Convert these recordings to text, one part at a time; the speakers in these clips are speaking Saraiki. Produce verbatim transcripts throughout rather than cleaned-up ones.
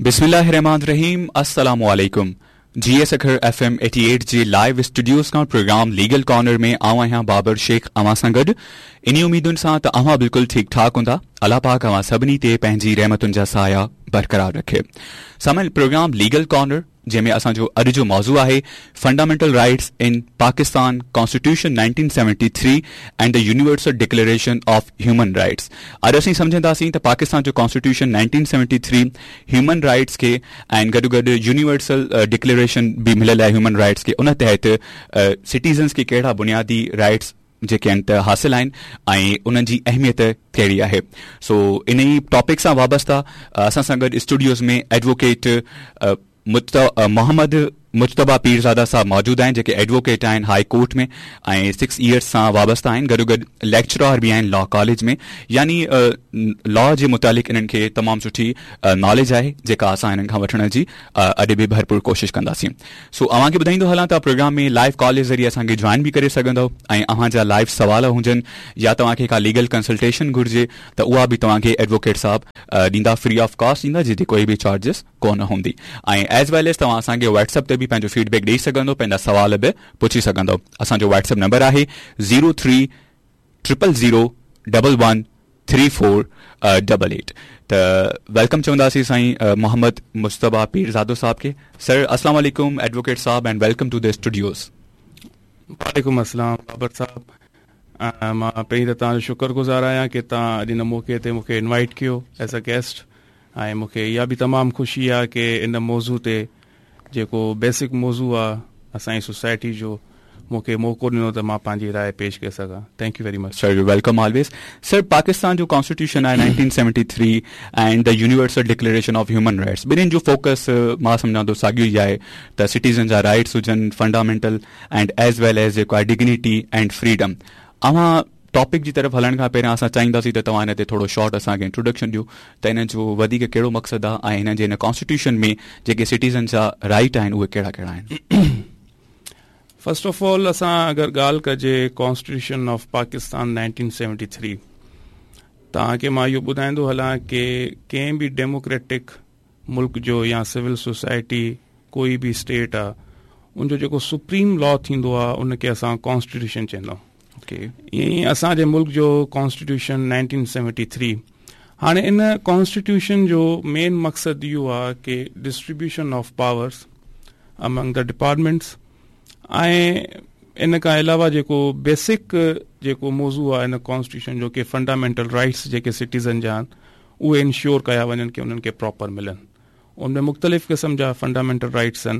بسم اللہ الرحمن الرحیم، السلام علیکم۔ جی ایس اکھر ایف ایم ایٹی ایٹ جی لائیو اسٹوڈیوز کان پروگرام لیگل کارنر میں آواں ہاں بابر شیخ آواں سان گڈ۔ انہی امیدن سان تے آواں بالکل ٹھیک ٹھاک ہوندا۔ اللہ پاک آواں سبنی تے پہنجی رحمتن جا سایہ برقرار رکھے۔ سامعین، پروگرام لیگل کارنر جے میں اساں جو اڈ جو موضوع آہے fundamental rights in Pakistan, constitution nineteen seventy three and the universal declaration of human rights. اڈ اسیں سمجھندا سیں تے پاکستان جو constitution nineteen seventy three human rights کے اینڈ گڈو گڈ یونیورسل ڈکلیریشن بھی ملل ہے ہیومن رائٹس کے ان تحت سٹیزنز کے کہڑا بنیادی رائٹس جے کے انت حاصل آئن، آئیں انہاں جی اہمیت کہڑی آہے۔ سو انہی ٹاپک سان وابستہ اساں سان گڈ اسٹوڈیوز میں ایڈووکیٹ محمد مجتبیٰ پیرزادہ صاحب موجود ہیں جے کے ایڈووکیٹ ہیں ہائی کورٹ میں، آئیں سکس ایئرس سان وابستہ ہیں گڈو گڈ لیکچرار بھی ہیں لا کالج میں۔ یعنی لا جے متعلق انہاں کے تمام سٹھی نالج آہے جے کا اساں انہاں کھاں وٹھنا جی اڈے بھی بھرپور کوشش کنداسیں۔ سو اوہاں کے بدھائیں دو حالات پروگرام میں لائیو کال ذریعے اساں کے جوائن بھی کرے سگندو۔ آئیں اوہاں جا لائیو سوال ہوں جن یا تو آنکھیں کا لیگل کنسلٹیشن گھرجے تو وہ بھی تو آنکھیں ایڈووکیٹ صاحب دیندا فری آف کاسٹ دیندا جی کوئی بھی چارجز کون ہوندی۔ آئیں ایز ویل ایز تو اساں کے واٹس ایپ تے بھی پہنجو فیڈ بیک دے سگندو پہنجا سوال بھی پوچھی سگندو۔ اساں جو واٹس ایپ نمبر آہے zero three triple zero double one three four double eight. تو ویلکم چوندا سی سائیں محمد مجتبیٰ پیرزادو صاحب کے۔ سر السلام علیکم ایڈووکیٹ صاحب and welcome to the studios. وعلیکم السلام بابر صاحب۔ ماں پہلے تو تاں شکر گزار آیا کہ تاں اج ان موقع تے مکھے انوائٹ کیو ایز اے گیسٹ۔ آئیں مکھے یا بھی تمام خوشی آ کہ ان موضوع تے جیکو بیسک موضوع آ اسائیں سوسائٹی جو مکھے موقع ڈنو تے ماں پانجی رائے پیش کر سکاں۔ Thank you very much. Sir you welcome always. Sir Pakistan جو کانسٹیٹیوشن آئے nineteen seventy three and the universal declaration of human rights بنین جو فوکس ماں سمجھاں تو ساگیو ہی آئے، تا سٹیزن جا رائٹس ہجن fundamental and as well as جیکو آئے ڈگنیٹی اینڈ فریڈم۔ اوہاں ٹاپک جی طرف ہلن کھاں پہریں اساں چاہینداسیں تے تواں انہاں تے تھوڑو شارٹ اساں کے انٹروڈکشن ڈیو تے انہاں جو ودی کے کیڑو مقصد آ آئیں انہاں جے انہاں کانسٹیٹیوشن میں جے کے سٹیزن جا رائٹ آئیں اوہ کیڑا کیڑا آئیں؟ فرسٹ آف آل اساں اگر گال کجے constitution of Pakistan nineteen seventy three تاں کہ ماں یو بدھائیں دو ہلاں کہ کہیں بھی ڈیموکریٹک ملک جو یا سول سوسائٹی کوئی بھی اسٹیٹ آ ان جو جیکو سپریم لا تھیندو آ ان کے اساں کانسٹیٹیوشن چیندو۔ اوکے۔ ایں اساں جے ملک جو کانسٹیٹیوشن نائنٹین سیونٹی تھری ہانے ان کانسٹیٹیوشن جو مین مقصد یو آ کہ distribution of powers Umang the departments آئیں ان کا علاوہ جیکو بیسک جیکو موضوع آ ان کانسٹیٹیوشن جو کہ فنڈامنٹل رائٹس جے کے سٹیزن جان اوہ انشیور کیا ونجن کہ انہن کے پراپر ملن۔ ان میں مختلف قسم جا فنڈامنٹل رائٹس ہیں۔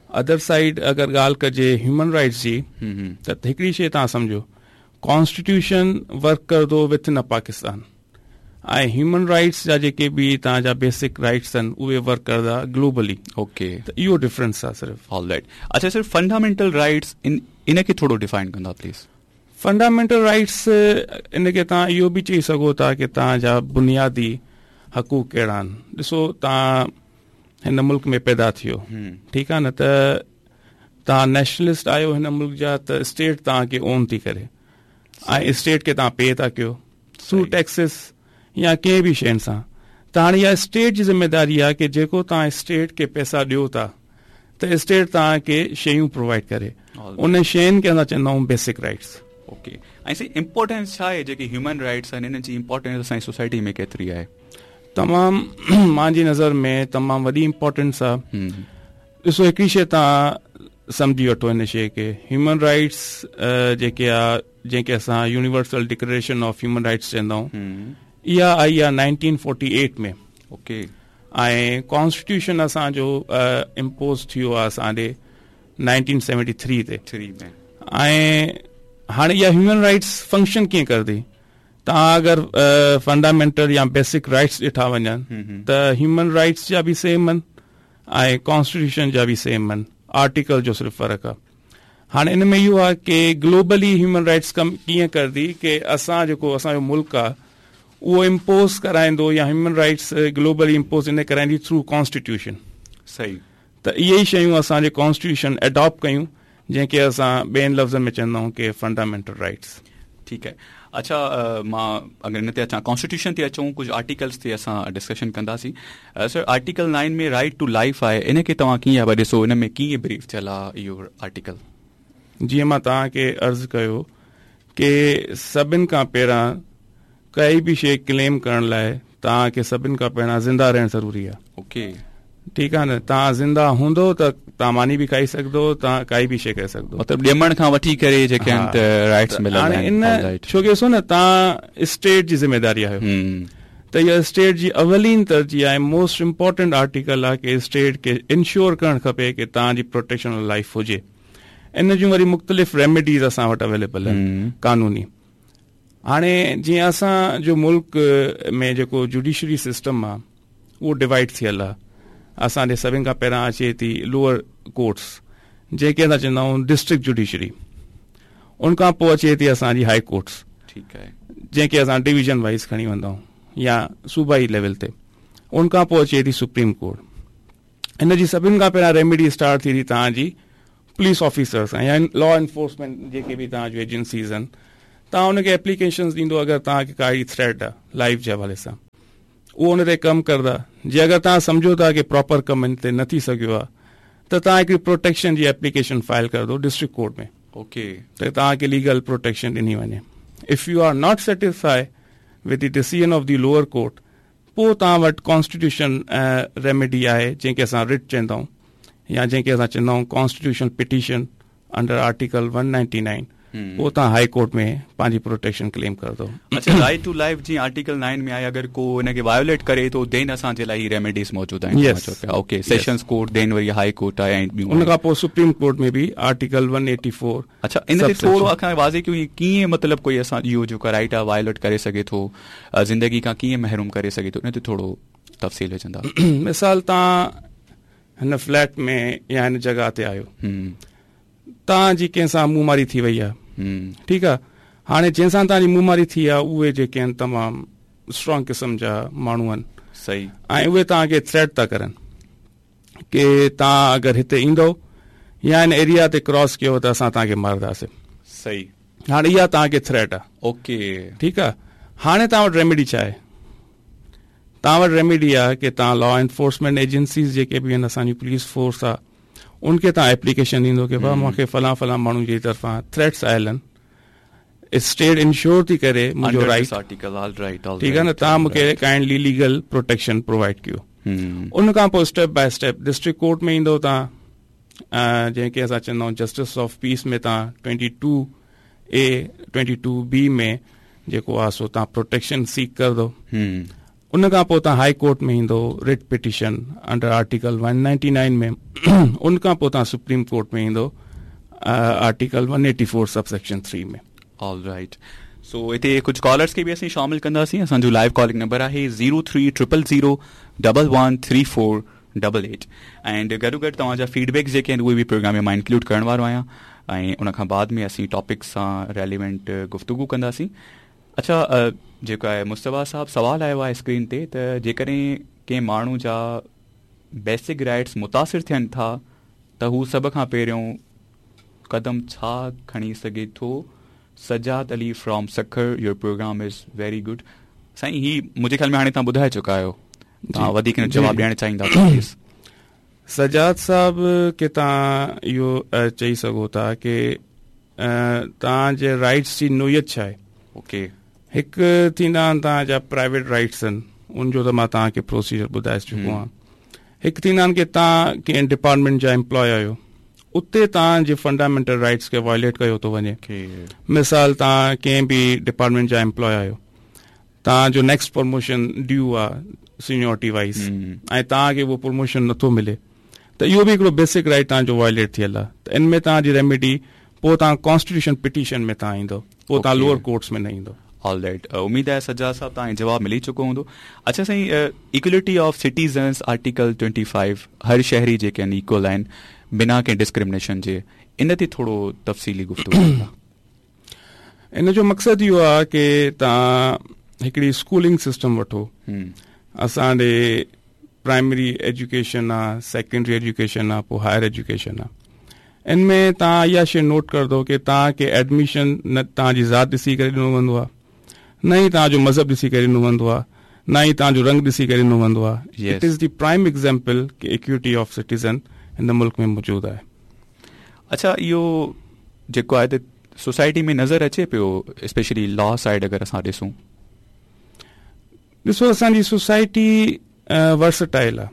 ادر سائیڈ اگر گال کجے ہیومن رائٹس جی تو ہکڑی شے تاں سمجھو کانسٹیٹیوشن ورک کر دو وتھ ان پاکستان آئیں ہیومن رائٹس جا جے کے بھی تاں جا بیسک رائٹس ہیں اوہ ورک کر دا گلوبلی۔ اوکے۔ تو ایو ڈفرنس آ صرف۔ All right. اچھا سر فنڈامنٹل رائٹس ان ان کے تھوڑو define Kanda please? Fundamental rights ان کے تاں ایو بھی چاہی سکو تھا کہ تاں جا بنیادی حقوق کیڑا آن۔ ڈسو تاں ہن ملک میں پیدا تھیو ٹھیک آ نا تو تاں نیشنلسٹ آیو ہن ملک جا تو اسٹیٹ تاں کے اون تھی کرے آئیں اسٹیٹ کے تاں پے تھا کیو تھرو ٹیکسز یا کہیں بھی شین ساں تاں ہانے یا اسٹیٹ جی ذمہ داری آ کہ جیکو تاں اسٹیٹ کے پیسہ ڈیو تھا تو اسٹیٹ تاں کے شیوں پرووائڈ کرے ان شین کے اندر چندہ ہوں بیسک رائٹس۔ اوکے۔ ۽ سائين امپورٽنس ڇا آهي جيڪي هيومن رائيٽس آهن انهن جي امپورٽنس اسان جي سوسائٽي ۾ ڪيتري آهي؟ تمام مانجي نظر ۾ تمام وڏي امپورٽنس آ. ڏسو هڪڙي شيء تان سمجهي وٺو هن شيء کي هيومن رائيٽس جيڪي آ جنهن کي اسان universal declaration of human rights چوندا آهيون اها آئي آ nineteen forty eight ۾. Okay. ۽ Constitution اسان جو امپوز ٿيو آ اسان ڏي نائنٽين سيونٽي ٿري تي. ٿري ۾. ۽ هاڻي اها هيومن رائيٽس فنڪشن ڪيئن ڪندي؟ توهان اگر فنڊامينٽل يا بيسڪ رائيٽس ڏٺا وڃن ته هيومن رائيٽس جا به سيم آهن ۽ ڪانسٽيٽيوشن جا به سيم آهن. آرٽيڪل جو صرف فرق آهي. هاڻي ان ۾ اهو آهي ڪي گلوبلي هيومن رائيٽس ڪم ڪيئن ڪندي ڪي اسان جيڪو اسان جو ملڪ آهي اهو امپوز ڪرائيندو يا هيومن رائيٽس گلوبلي امپوز ان ڪرائيندي ٿرو ڪانسٽيٽيوشن. صحيح. ته اهي ئي شيون اسان جي ڪانسٽيٽيوشن اڊاپٽ ڪيون جنهن کي اسان ٻين لفظن ۾ چوندا آهيون ڪي فنڊامينٽل رائيٽس. ٹھیک ہے۔ اچھا، مان اگر ان تے اچاں، کانسٹیٹیوشن تے اچوں، کجھ آرٹیکلز تے اساں ڈسکشن کنداسیں۔ سر، آرٹیکل نائن میں رائٹ ٹو لائف آئے، ان کے تواں کیئیں ہا ڈسو، ان میں کیئیں بریف چلا ایو آرٹیکل؟ جی، مان تاں کے عرض کیو کہ سبن کا پیرا کئی بھی شے کلیم کرن لائے تاں کے سبن کا پیرا زندہ رہن ضروری ہے۔ اوکے۔ ٹھیک ہے نا؟ تاں زندہ ہوندو تاں تاں مانی بھی کھائی سکدو، تاں کائی بھی شے کر سکدو۔ مطلب ڈیمن کھاں وٹھی کرے جے کہن ہاں۔ تے رائٹس ملن ہاں، لائن۔ ان آل رائٹ۔ چھو کہ سو نا تاں اسٹیٹ جی ذمہ داری ہے۔ ہوں۔ تے یہ اسٹیٹ جی اولین ترجیح ہے، موسٹ امپورٹنٹ آرٹیکل ہے کہ اسٹیٹ کے انشور کرن کھپے کہ تاں جی پروٹیکشن آف لائف ہو جے۔ ان جوں وری مختلف ریمیڈیز اساں وٹ اویلیبل ہیں ہوں۔ قانونی۔ ہانے جی اساں جو ملک میں جیکو جوڈیشری سسٹم آ، وہ ڈیوائیڈ تھیل آ۔ اساں دے سبھیں کا پیرا اچے تھی لوئر کورٹس، جے کے اساں چندہ ہوں ڈسٹرکٹ جوڈیشری۔ ان کا پو اچے تھی اساں جی ہائی کورٹس۔ ٹھیک ہے۔ جے کے اساں ڈویژن وائز کھنی وندہ ہوں یا صوبائی لیول تے۔ ان کا پو اچے تھی سپریم کورٹ۔ ان جی سبھیں کا پیرا ریمیڈی اسٹارٹ تھی تھی تاں جی پولیس آفیسرز ہیں یا لا انفورسمنٹ جے کے بھی تاں جو ایجنسیز ہیں، تاں ان کے اپلیکیشنز دیندو اگر تاں کے کائی تھریٹ ہے لائف جے حوالے ساں۔ وہ ان تے کم کردا۔ جے اگر تاں سمجھو تھا کہ پراپر کم ان تے نہ تھی سکیو آ، تو تاں ایک پروٹیکشن جی اپلیکیشن فائل کر دو ڈسٹرکٹ کورٹ میں۔ اوکے۔ تو تاں کے لیگل پروٹیکشن ڈنی ونے۔ If you are not satisfy with the decision of the lower court, پو تاں وٹ کانسٹیٹیوشن ریمیڈی آئے، جن کے اساں رٹ چندہ ہوں یا جن کے اساں چندہ ہوں کانسٹیٹیوشن پٹیشن انڈر آرٹیکل ون نائنٹی نائن، ہوں۔ پو تاں ہائی کورٹ میں پانچی پروٹیکشن کلیم کر دو۔ اچھا، رائٹ ٹو لائف جی آرٹیکل نائن میں آئے، اگر کو ان کے وائیولیٹ کرے تو دین اساں جے لائی ریمیڈیز موجود ہیں۔ یس۔ اوکے، یس۔ سیشنز کورٹ دین وری ہائی کورٹ آئے ہیں۔ ان کا پو سپریم کورٹ میں بھی آرٹیکل ون ایٹی فور۔ اچھا، ان تے سب تھوڑو سیکشن۔ اکھاں واضح کیوں ہی کیئیں، مطلب کوئی اساں ایہو جو کا رائٹ آ وائلیٹ کرے سگے تھو، آ، زندگی کا کیئیں محروم کرے سگے تھو، ان تے تھوڑو تفصیل وچ اندا۔ مثال تاں ہن فلیٹ میں یا ہن جگہ تے آیو۔ ہوں۔ تاں جی کہیں ساں منہ ماری تھی وئی آ۔ ہوں۔ ٹھیک آ۔ ہانے جن ساں تاں جی منہ ماری تھی آ، اوے جے کہیں تمام اسٹرانگ قسم جا مانو ہن۔ صحیح۔ آئیں اوے تاں کے تھریٹ تا کرن۔ کہ تاں اگر ہتے ایندو یا ان ایریا تے کراس کیو تاں اساں تاں کے مار داسے۔ صحیح۔ ہاں، ایا تاں کے تھریٹ آ۔ اوکے۔ ٹھیک آ۔ ہانے تاں وٹ ریمیڈی چاہے۔ تاں وٹ ریمیڈی آ کہ تاں لا انفورسمنٹ ایجنسیز جے کے بھی ہیں، اساں جی پولیس فورس آ، ان کے تاں اپلیکیشن دیندو کہ بھا ہوں۔ مونکے فلاں فلاں مانو جی طرفاں تھریٹس آئلن۔ اسٹیٹ انشور تھی کرے منجو under right. This article, all right, all ٹھیک ہے نا، رائٹ، تاں آل مونکے right. Kindly legal protection provide کیو۔ ہوں۔ ان کا پو سٹیپ بائی سٹیپ ڈسٹرکٹ کورٹ میں ایندو تاں، آ، جن کے اساں چندہ ہوں جسٹس آف پیس میں تاں ٹوئنٹی ٹو اے، ٹوئنٹی ٹو بی میں جے کو آسو تاں پروٹیکشن سیک کر دو۔ ہوں۔ ان کا پو تاں ہائی کورٹ میں ایندو رٹ پٹیشن انڈر آرٹیکل ون نائنٹی نائن میں، ان کا پو تاں سپریم کورٹ میں ایندو، ah, article one eighty four sub section three میں۔ All right. سو اتھے کجھ کالرز کے بھی اسیں شامل کندا سی۔ اساں جو لائیو کالنگ نمبر آہے zero three triple zero double one three four double eight. And Guddu good تواں جا فیڈ بیک جے کے ہیں، وہ بھی پروگرام میں انکلوڈ کرن وارو آیاں۔ ائیں ان کھاں بعد میں اسیں ٹاپک ساں ریلیونٹ گفتگو کندا سی۔ اچھا، آ، جیکا ہے مصطفیٰ صاحب سوال آیا ہوا ہے اسکرین تے، تے جے کریں کہ مانو جا بیسک رائٹس متاثر تھین تھا، تاں ہو سب کھاں پہریوں قدم چھا کھنی سگے تھو؟ Sajjad Ali from Sukkur, your program is very گڈ۔ سائیں، ہی مجھے خیال میں ہانے تاں ٻدھائے چکا آیو۔ تاں جی۔ ودھیک جی۔ جواب ݙیݨ چاہیندا تھا، پلیز۔ سجاد صاحب کے تاں یو، اے، چاہی سگو تھا کہ، اے، تاں جے رائٹس جی نوعیت چھا ہے۔ اوکے۔ ہک تھیندان تاں جا پرائیویٹ رائٹس ہن، ان جو تاں ماں تاں کے پروسیجر ٻدھائے چکو ہوں۔ ہاں۔ ہک تھیندان کے تاں کے ڈپارٹمنٹ جا ایمپلائے آیو، اتے تاں جے فنڈامنٹل رائٹس کے وائلیٹ کیو تو ونجے۔ اوکے۔ مثال تاں کے بھی ڈپارٹمنٹ جا ایمپلائے آیو، تاں جو نیکسٹ پروموشن ڈیو آ سینیورٹی وائز، ہوں۔ ائیں تاں کے وہ پروموشن نتھو ملے، تو اہو بھی ہکڑو بیسک رائٹ تاں جو وائلیٹ تھیل آ۔ تو ان میں تاں جی ریمیڈی پو تاں کانسٹیٹیوشن پٹیشن میں تاں ایندو، پو تاں اوکے۔ لوئر کورٹس میں نہ ایندو۔ آل رائٹ، امید ہے سجاد صاحب تاں جواب ملی چکو ہوندو۔ اچھا سائیں، equality of citizens article twenty five, ہر شہری جے کن ایکول آہن، بنا کے ڈسکریمنیشن جے، ان تے تھوڑو تفصیلی گفتگو کندا۔ ان جو مقصد اہو آ کہ تاں ہکڑی سکولنگ سسٹم وٹھو۔ ہوں۔ اساں دے پرائمری ایجوکیشن آ، سیکنڈری ایجوکیشن آ، پو ہائر ایجوکیشن آ۔ ان ۾ توهان اها شيءِ نوٽ ڪندو ڪي توهان کي ايڊميشن نه توهان جي ذات ڏسي ڪري ڏنو ويندو آهي، نه ئي توهان جو مذهب ڏسي ڪري ڏنو ويندو آهي، نه ئي توهان جو رنگ ڏسي ڪري ڏنو ويندو آهي. It is the prime example key equity of citizen هن ملڪ ۾ موجود آهي. اڇا، اهو جيڪو آهي ته سوسائٽي ۾ نظر اچي پيو، اسپيشلي لا سائيڊ اگر اسان ڏسون؟ ڏسو، اسان جي سوسائٽي ورسٽائل آهي.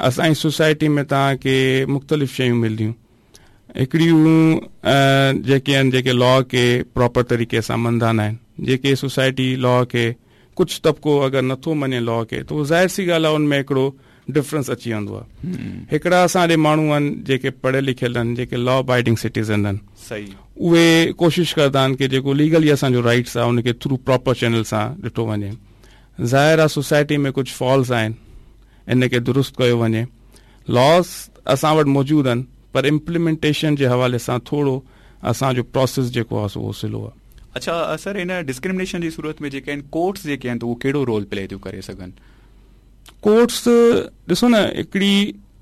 اسان جي سوسائٽي ۾ توهان کي مختلف شيون ملنديون. هڪڙيون جيڪي آهن، جيڪي لا کي پراپر طريقي سان مندا نه آهن، جيڪي سوسائٽي لا کي، ڪجهه طبقو اگر نٿو مڃي لا کي، ته اهو ظاهر سي ڳالهه آهي، ان ۾ هڪڙو ڊفرنس اچي ويندو آهي. هڪڙا اسان ڏي ماڻهو آهن جيڪي پڙهيل لکيل آهن، جيڪي لا ابائيڊنگ سٽيزن آهن. اهي ڪوشش ڪندا آهن ڪي جيڪو ليگلي اسان جو رائيٽس آهي، ان کي ٿرو پراپر چينل سان ڏٺو وڃي. ظاهر آهي، سوسائٽي ۾ ڪجهه فالز آهن، ان کي درست ڪيو وڃي. لاز اسان وٽ موجود آهن، پر امپليمينٽيشن جي حوالي سان ٿورو اسان جو پروسيس جيڪو آهي، سو اهو سلو آهي. اڇا سر، ان ڊسڪرمنيشن جي صورت ۾ جيڪي آهن، ڪورٽس جيڪي آهن، ته اهو ڪهڙو رول پلي ٿيون ڪري سگهن؟ ڪورٽس، ڏسو نه، هڪڙي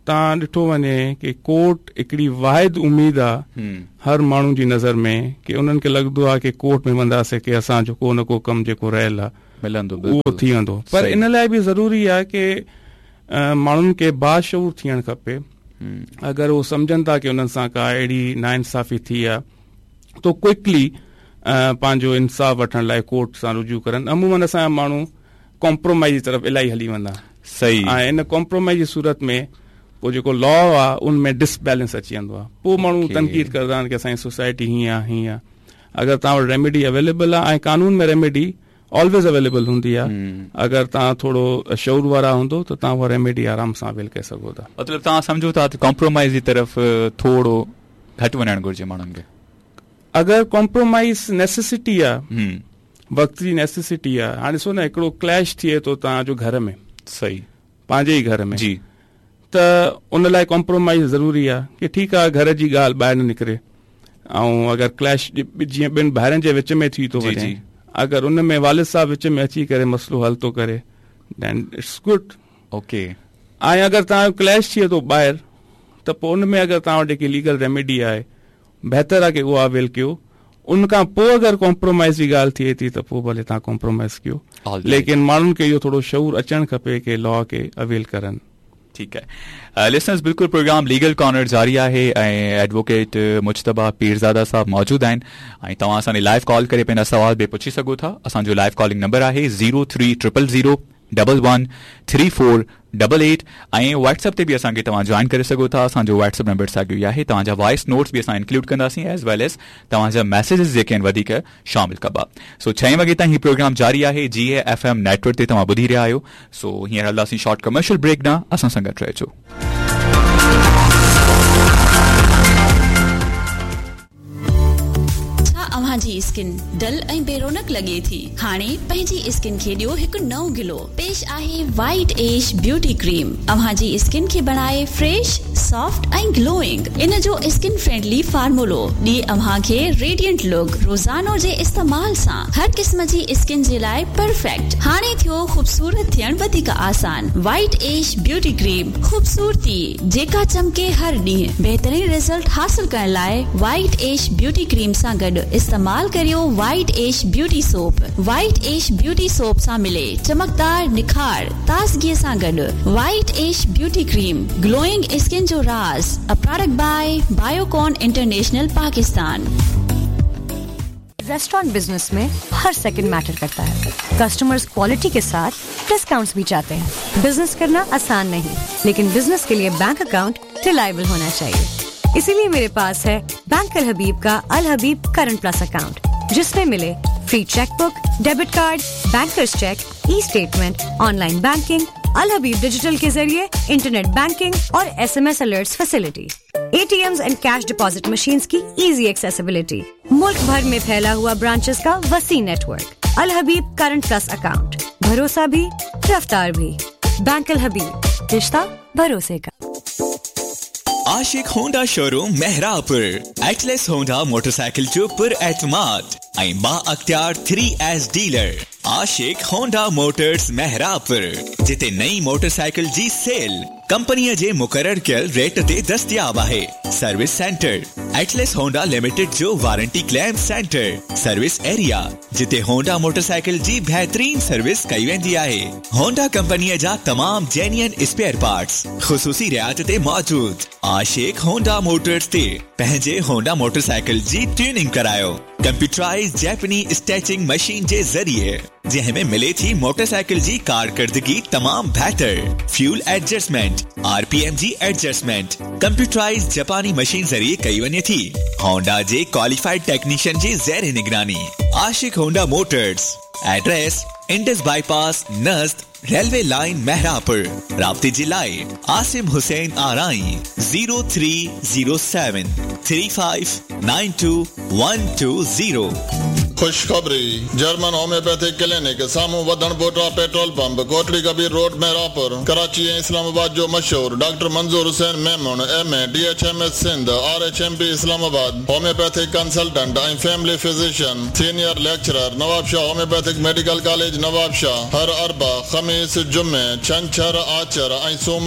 توهان ڏٺو وڃي ڪي ڪورٽ هڪڙي واحد اميد آهي هر ماڻهو جي نظر ۾، ڪي انهن کي لڳندو آهي ڪي ڪورٽ ۾ وينداسين ڪي اسان جو ڪو نه ڪو ڪم جيڪو رهيل آهي، ملندو، اهو بلڪل. ٿي ويندو. پر صحيح. ان لاءِ به ضروري آهي ڪي، ا، ماڻهن کي باشعور ٿيڻ کپي. اگر اهو سمجهن ٿا ڪي انهن سان ڪا اهڙي ناانصافي ٿي آهي، تو ڪوئڪلي، ا، پنهنجو انصاف وٺڻ لاءِ ڪورٽ سان رجوع ڪرن. عموماً اسان جا ماڻهو ڪامپرومائيز جي طرف الاهي هلي ويندا. صحيح. ۽ ان ڪامپرومائيز جي صورت ۾ پوءِ جيڪو لا آهي، ان ۾ ڊسبيلنس اچي ويندو آهي. پوءِ ماڻهو اوڪي. تنقيد ڪندا آهن ڪي اسان جي سوسائٽي هيئن آهي، هيئن آهي. اگر توهان وٽ ريميڊي اويليبل آهي، ۽ قانون ۾ ريميڊي آلويز اويليبل هوندي آهي. اگر توهان ٿورو شعور وارا هوندو، ته توهان اها ريميڊي آرام سان اويل ڪري سگهو ٿا. مطلب، توهان سمجهو ٿا ته ڪامپرومائيز جي طرف، ا، ٿورو گهٽ وڃڻ گهرجي ماڻهن کي؟ اگر ڪامپرومائيز نيسيسٽي آهي، وقت جي نيسيسٽي آهي. هاڻي ڏسو نه، هڪڙو ڪليش ٿئي ٿو توهان جو گهر ۾، صحيح. پنهنجي ئي گهر ۾، جي. ته ان لاءِ ڪامپرومائيز ضروري آهي، ڪي ٺيڪ آهي، گهر جي ڳالهه ٻاهر نه نڪري. ۽ اگر ڪليش جي-، جيئن ٻن ڀائرن جي وچ ۾ ٿي ٿو جي، وڃي، جي. اگر ان ۾ والد صاحب وچ ۾ اچي ڪري مسئلو حل ٿو ڪري، then it's good. اوڪي. ۽ اگر توهان جو ڪليش ٿئي ٿو ٻاهر، ته پوءِ ان ۾ اگر توهان وٽ هڪڙي ليگل ريميڊي آهي، بهتر آهي ڪي اها اويل ڪيو. ان کان پوءِ اگر ڪامپرومائيز جي ڳالهه ٿئي ٿي، ته پوءِ ڀلي توهان ڪامپرومائيز ڪيو. All right. ليڪن ماڻهن کي اهو ٿورو شعور اچڻ کپي ڪي لا کي اويل ڪرن. ٺيڪ آهي. لسنرز، بلڪل پروگرام ليگل ڪارنر جاري آهي ۽ ايڊووڪيٽ مجتبيٰ پيرزاده صاحب موجود آهن ۽ توهان اسان ڏي لائيو ڪال ڪري پنهنجا سوال به پڇي سگهو ٿا. اسان جو لائيو ڪالنگ نمبر آهي zero three triple zero double one three four double eight, ۽ WhatsApp تي به اسان کي توهان جوائن ڪري سگهو ٿا. اسان جو واٽس ايپ نمبر ساڳيو ئي آهي. توهان جا وائس نوٽس به اسان انڪلوڊ ڪنداسين، ايز ويل ايز توهان جا ميسيجز جيڪي آهن، وڌيڪ شامل ڪبا. سو، ڇهين وڳي تائين هي پروگرام جاري آهي، جي اي ايف ايم نيٽورڪ تي توهان ٻڌي رهيا آهيو. سو، هينئر هلنداسين شارٽ ڪمرشل بريڪ ڏانهن، اسان سان گڏ رهجو. ڇا اوهان جي اسڪن ڊل ۽ بي رونق لڳي ٿي؟ هاڻي پنهنجي اسڪن کي ڏيو هڪ نئون گلو. پيش آهي وائٽ ايش بيوٽي ڪريم. اوهان جي اسڪن کي بڻائي فريش، سافٽ ۽ گلوئنگ. ان جو اسڪن فرينڊلي فارمولو ڏي اوهان کي ريڊينٽ لڪ. روزانو جي استعمال سان هر قسم جي اسڪن جي لاءِ پرفيڪٽ. هاڻي ٿيو خوبصورت ٿيڻ وڌيڪ آسان. وائٽ ايش بيوٽي ڪريم، خوبصورتي جيڪا چمڪي هر ڏينهن. بهترين رزلٽ حاصل ڪرڻ لاءِ وائٽ ايش بيوٽي ڪريم سان گڏ استعمال ڪريو وائٽ ايش بيوٽي سوپ. وائٽ ايش بيوٽي سوپ سان ملي چمڪدار نکار، تازگيءَ سان گڏ. وائٽ ايش بيوٽي ڪريم، گلوئنگ اسڪن جو راز. A product by Biocon International Pakistan. Restaurant business میں ہر سیکنڈ میٹر کرتا ہے۔ کسٹمرز کوالٹی کے ساتھ ڈسکاؤنٹس بھی چاہتے ہیں۔ بزنس کرنا آسان نہیں، لیکن بزنس کے لیے بینک اکاؤنٹ ریلائبل ہونا چاہیے۔ اسی لیے میرے پاس ہے بینک الحبیب کا الحبیب کرنٹ پلس اکاؤنٹ، جس میں ملے free cheque book, debit card, bankers cheque, e statement, online banking, Al Habib digital کے ذریعے انٹرنیٹ بینکنگ اور S M S alerts facility. A T Ms and cash deposit machines کی ایزی ایکسیسیبلٹی۔ ملک بھر میں پھیلا ہوا برانچز کا وسیع network. Al Habib current plus account, بھروسہ بھی، رفتار بھی۔ بینک الحبیب، رشتہ بھروسے کا۔ عاشق ہونڈا شو روم مہرا پر ایٹلس ہونڈا موٹر سائیکل جو پر اعتماد ۽ با اختيار ٿري ايس ڊيلر عاشق هونڊا موٽرز مهراب، جتي نئين موٽر سائيڪل جي سيل، کمپنی جے مقرر کیل ریٹ تے دستیاب آہے۔ Service centre, Atlas Honda limited جو warranty claim centre. Service area, جتے ہونڈا موٹر سائیکل جی بہترین سروس کئی ویندی آہے۔ ہونڈا کمپنی جا تمام جینین اسپیئر پارٹس خصوصی رعایت تے موجود۔ عاشق ہونڈا موٹرز تے پنہنجے ہونڈا موٹر سائیکل جی ٹیوننگ کرائیو کمپیوٹرائز جیپنی اسٹیچنگ مشین جے ذریعے، جنہاں میں ملے تھی موٹر سائیکل جی کارکردگی تمام بہتر، fuel adjustment, R P M جی ایڈجسٹمنٹ کمپیوٹرائز جاپانی مشین ذریعے کئی ونجے تھی۔ ہونڈا جے کوالیفائیڈ ٹیکنیشن جے زیر نگرانی۔ Ashiq Honda motors, address, Indus bypass نزد ریلوے لائن مہراپور۔ رابطے جے لائے Asim Hussain Arain, zero three zero seven three five nine two one two zero. خوشخبری، جرمن ہومیوپیتھک کلینک، ساموں ودھݨ Buta petrol pump, Kotri Kabir road, Mehrapur, Karachi ۽ اسلام آباد جو مشہور doctor Manzoor Hussain Memon, M A, D H M S Sindh, R H M P Islamabad, homeopathic consultant ۽ family physician, senior lecturer, Nawab Shah homeopathic medical college Nawab Shah, ہر اربع، خمیس، جمعے، چھنچھر، آچر ۽ سوم